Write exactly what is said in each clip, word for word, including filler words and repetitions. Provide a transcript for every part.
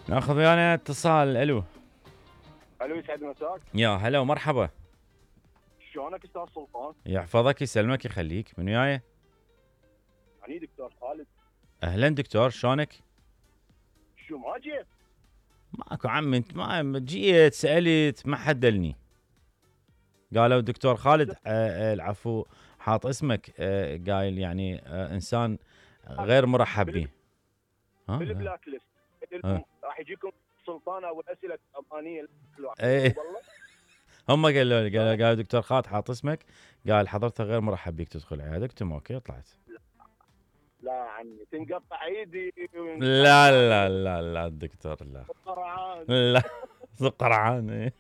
ناخذ ويانا اتصال. الو الو يسعد مساك. يا هلا ومرحبا. شلونك استاذ سلطان؟ يحفظك يسلمك يخليك. من وياي؟ اني دكتور خالد. اهلا دكتور، شلونك؟ شو ما جيت؟ ماكو عم، انت ما جيت سالت ما حد دلني. قالوا دكتور خالد آه آه العفو حاط اسمك آه قايل يعني آه انسان غير مرحب به. ها بالبلاك ليست راح يجيكم سلطان او الاسئله الامانيه. ايه هم قالوا لي قالوا قالوا دكتور خالد حاط اسمك، قال حضرتك غير مرحب بك تدخل عيادك. اوكي طلعت. لا عمي تنقطع ايدي. لا لا لا لا الدكتور لا قرعان. لا قرعان.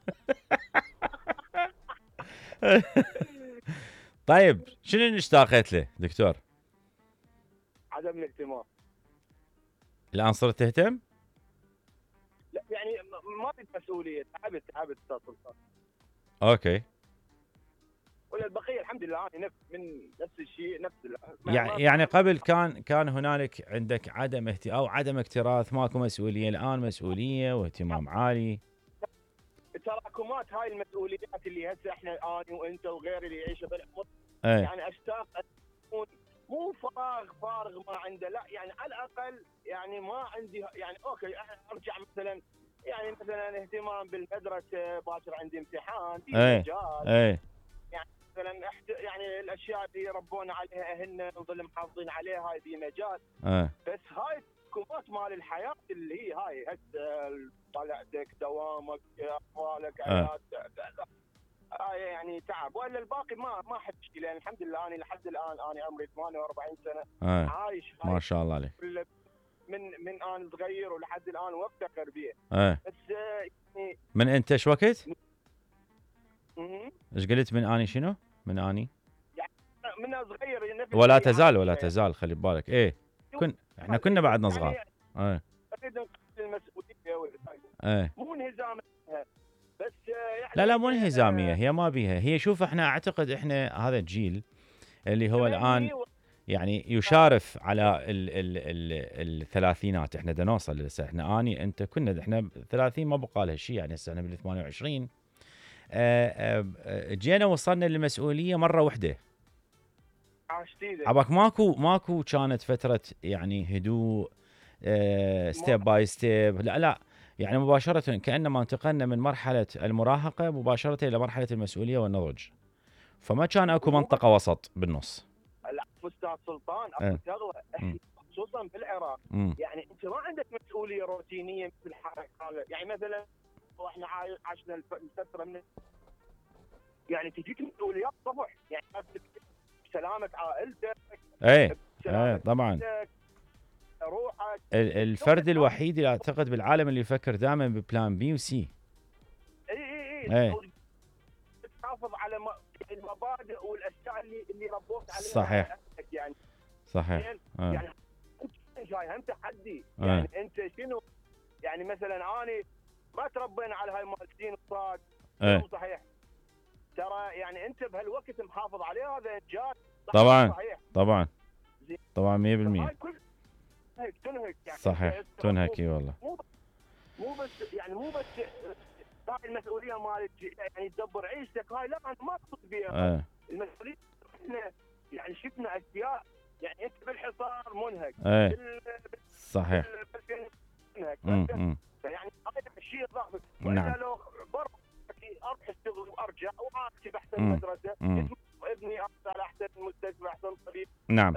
طيب شنو اللي اشتاقت له دكتور؟ عدم الاهتمام. الان صرت تهتم؟ لا يعني ما في مسؤوليه، تعبت تعبت استاذ سلطان. اوكي. ولا البقيه الحمد لله انا نفس من نفس الشيء نفس يعني يعني قبل كان كان هنالك عندك عدم اهتمام او عدم اكتراث، ماكو مسؤوليه، الان مسؤوليه واهتمام عالي. تراكمات هاي المسؤوليات اللي هسه احنا انا وانت وغيري اللي يعيشوا بالعمر. ايه. يعني اشتاق اكون مو فراغ فارغ ما عنده، لا يعني على الاقل يعني ما عندي يعني اوكي ارجع مثلا يعني مثلا اهتمام بالمدرسه، باكر عندي امتحان في ايه. مجال. ايه. يعني مثلا يعني الاشياء اللي ربونا عليها اهلنا نظل محافظين عليها هاي في مجال. ايه. بس هاي التراكمات مال الحياه اللي هي هاي هسه طلعتك دوامك اطفالك عيادتك هاي يعني تعب، والا الباقي ما ما حد شيء، لان الحمد لله انا لحد الان انا عمري ثمانية وأربعين سنه. ايه. عايش ما شاء الله عليك. من من انا صغير ولحد الان وافتخر به. ايه. بس يعني من انت ايش وقت؟ اها ايش قلت من اني شنو؟ من اني؟ يعني من صغير نفس ولا تزال ولا تزال خلي ببالك. ايه كن احنا كنا بعدنا صغار. يعني ايه. اريد نقل المسؤوليه ولا ايه. مو انهزام بس يعني لا لا مو انهزاميه، هي ما بيها. هي شوف احنا اعتقد احنا هذا الجيل اللي هو الان يعني يشارف على ال ال ال الثلاثينات. احنا دا نوصل لسه، احنا اني انت كنا احنا ثلاثين ما بقى لها شيء، يعني هسه احنا بال ثمانية وعشرين. جينا وصلنا للمسؤوليه مره واحده. عباك ماكو ماكو كانت فتره يعني هدوء ستيب باي ستيب. لا لا يعني مباشره كانما انتقلنا من مرحله المراهقه مباشره الى مرحله المسؤوليه والنضج، فما كان اكو منطقه وسط بالنص. العفو استاذ سلطان، اكو شغله احنا خصوصا بالعراق م. يعني انت ما عندك مسؤوليه روتينيه مثل حالة. يعني مثلا واحنا عشنا الفتره من يعني تجيك مسؤوليات صبح، يعني سلامه عائلتك. ايه ايه طبعا. روحك. الفرد الوحيد اللي اعتقد بالعالم اللي يفكر دائما ببلان بي وسي. اي اي اي تحافظ على المبادئ والاشياء اللي اللي ربوك عليها. صحيح يعني صحيح. آه. يعني انت جاي هم تحدي. يعني آه. انت شنو يعني مثلا انا ما تربينا على هاي مال سين وصاد. آه. صحيح ترى يعني انت بهالوقت محافظ عليه، هذا انجاز. طبعا صحيح. طبعا طبعا مية بالمية. هيك تنهك يعني صحيح تنهك اي والله. مو مو بس يعني مو بس هاي المسؤوليه مالك يعني تدبر عيشتك هاي، لا انا ما اقصد فيها. آه. المسؤوليه احنا يعني شفنا اشياء يعني انت بالحصار منهك. آه. صحيح. منهك يعني هذا الشيء ضعف. نعم. لو برا اروح اشتغل وارجع واكتب احسن مدرسه، ابني على احسن مستشفى احسن طبيب. نعم.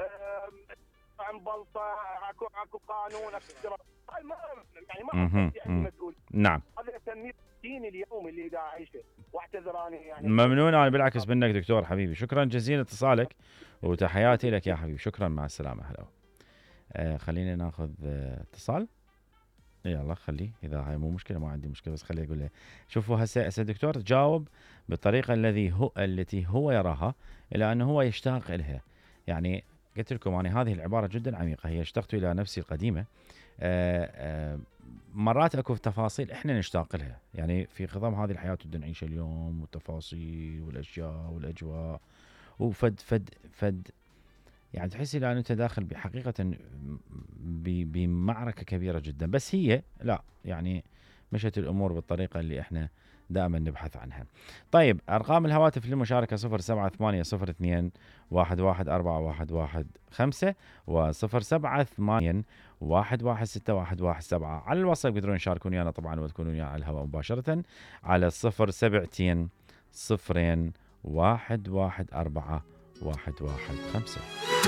عن بلطه اكو اكو قانون اكو هاي ما يعني ما يعني مسؤول. نعم. هذا اسميه الدين اليومي اللي دا اعيشه، واعتذر اني يعني ممنون. انا بالعكس منك دكتور حبيبي، شكرا جزيلا اتصالك وتحياتي لك يا حبيبي. شكرا مع السلامه. هلا. آه خلينا ناخذ آه اتصال. يلا خليه، اذا هاي مو مشكله ما عندي مشكله، بس خليه اقول له شوفوا هسه هسه الدكتور جاوب بالطريقه الذي هو التي هو يراها الى انه هو يشتاق لها. يعني قلت لكم انا هذه العباره جدا عميقه، هي اشتقت الى نفسي القديمه. آآ آآ مرات اكو تفاصيل احنا نشتاق لها، يعني في خضم هذه الحياه بدنا نعيش اليوم والتفاصيل والاشياء والاجواء وفد فد فد يعني تحس الى انت داخل بحقيقه بمعركه كبيره جدا، بس هي لا يعني مشت الامور بالطريقه اللي احنا دائما نبحث عنها. طيب ارقام الهواتف للمشاركه صفر سبعة ثمانية صفر اثنين واحد واحد أربعة واحد واحد خمسة وصفر سبعة ثمانية واحد واحد ستة واحد واحد سبعة. على الواتساب يقدرون يشاركون ويانا طبعا وتكونون ويانا على الهواء مباشره على الصفر سبعتين صفرين واحد واحد أربعة واحد واحد خمسة.